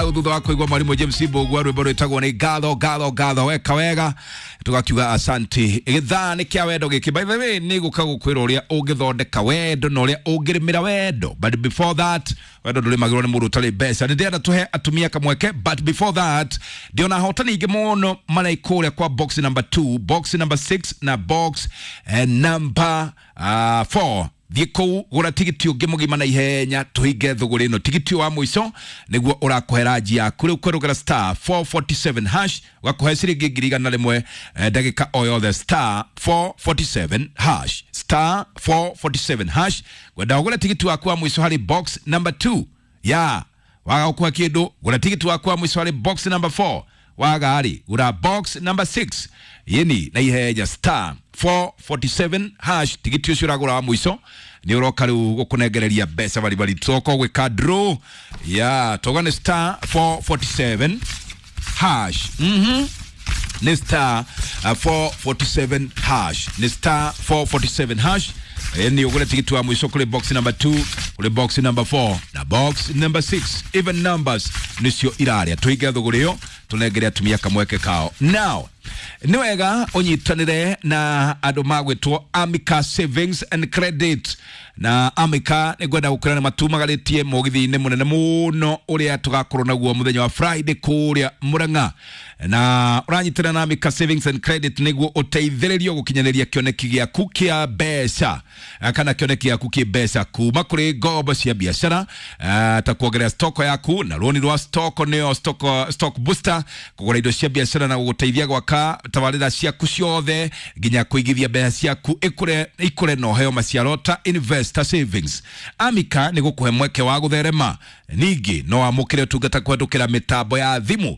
Thutha wa kuigua mwarimu James Mbugua rwimbo rwitagwo ni ngatho ngatho ngatho weka wega tugakiuga asanti. Githaa ni kia wendo giki, by the way, ni guka gukwira uria ungithondeka wendo na uria ungirimira wendo, but before that wendo ndurimagirwo ni mundu utari mbeca. Ni ndĩrenda tuhe atumia kamweke, but before that ndiona ahotani ingĩ mũno maraikũrĩa kwa box number 2, box number 6 na box number 4. Thiĩ kũu gũra tigiti ũngĩ mũgima na ihenya tũhinge thũgũrĩ ĩno. Tigiti wa mũico nĩguo ũrakũhe ranji yaku rĩu kwerũgera star 447 hash ũgakũhe ciringi 100,000 ndagĩka o yothe. Star 447 hash, star 447 hash. Ngwenda ũgũre tigiti waku wa mũico harĩ box number 2 ya waga gũkũhe kĩndũ, gũra tigiti waku wa mũico harĩ box number 4, waga rĩ gũra box number 6 yini na ihenya star 447 hash. Tigiti ũcio ũragũra wa mũico nĩ ũroka rĩu gũkũnengereria mbeca baribari. Tũroka gwĩka draw ya toga nĩ star 447 hash. Nĩ star 447 hash, nĩ star 447 hash. Ni ũgũre tigiti wa mũico kũrĩ box number 2, kũrĩ box number 4 na box number 6. Even numbers nĩcio irarĩa. Tũhinge thũgũrĩ ĩyo tũnengere atumia kamweke kao. Now nĩ wega ũnyitanĩre na andũ magwĩtwo Amica Savings and Credit. Na Amica nĩ ngwenda gũkwĩra nĩ matumagarĩtie mũgithi-inĩ mũnene mũno ũrĩa tũgakorwo naguo mũthenya wa Friday kũrĩa Murang'a, na ũranyitanĩra na Amica Savings and Credit nĩguo ũteithĩrĩrio gũkinyanĩria kĩoneki gĩaku kĩa mbeca, kana kĩoneki gĩaku kĩ mbeca kuma kũrĩ ngombo cia biacara, ta kuongerera stoko yaku na rũni rwa stoko nĩyo stock booster, kũgũra indo cia biacara na gũgũteithia gwaka tabarĩra ciaku ciothe nginya kũigithia mbeca ciaku ikũre ikũre na ũheo maciaro ta investor savings. Amica nĩ gũkũhe mweke wa gũtherema. Ningĩ no wamũkĩre ũtungata kũhetũkĩra mĩtambo ya thimũ,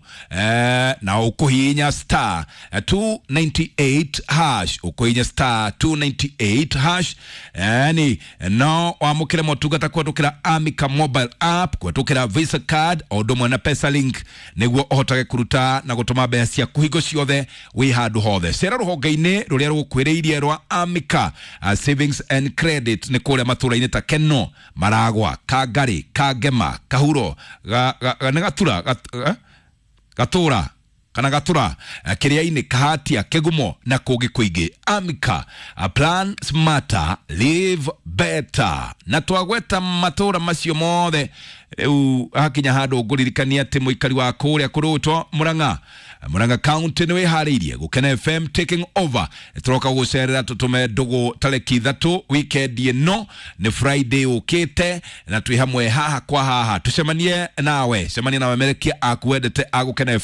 na ũkũhihinya star 298 hash, ũkũhihinya star 298 hash. Yani no wamũkĩre motungata kũhetũkĩra Amica mobile app, kũhetũkĩra Visa card o ũndũ ũmwe na Pesa link nĩguo ũhotage kũruta na gũtũma mbeca ciaku hingo ciothe wĩ handũ hothe. Cera rũhonge-inĩ rũrĩa rũgũkuhĩrĩirie rwa Amica Savings and Credit nĩ kũrĩa matũra-inĩ ta Keno, Maragwa, Kangari, Kangema, Kahuro, nĩ Gatura, Gatũra kana Gatura, Kĩrĩa-inĩ, Kahatia, Kĩgumo na kũngĩ kũingĩ. Amica, plan smarter, live better. Na twagweta matũra macio mothe rĩu hakinya handũ ngũririkania atĩ mũikari wa kũrĩa kũrũtwo Murang'a, Murang'a County nĩ wĩharĩirie Gũkena FM taking over. Tũroka gũcerera tũtũme ndũgũ tarĩki 3 weekend ĩno nĩ Friday ũkĩte, na twĩ hamwe haha kwa haha tũcemanie nawe, cemanie nawe merekia akuendete agũkena FM.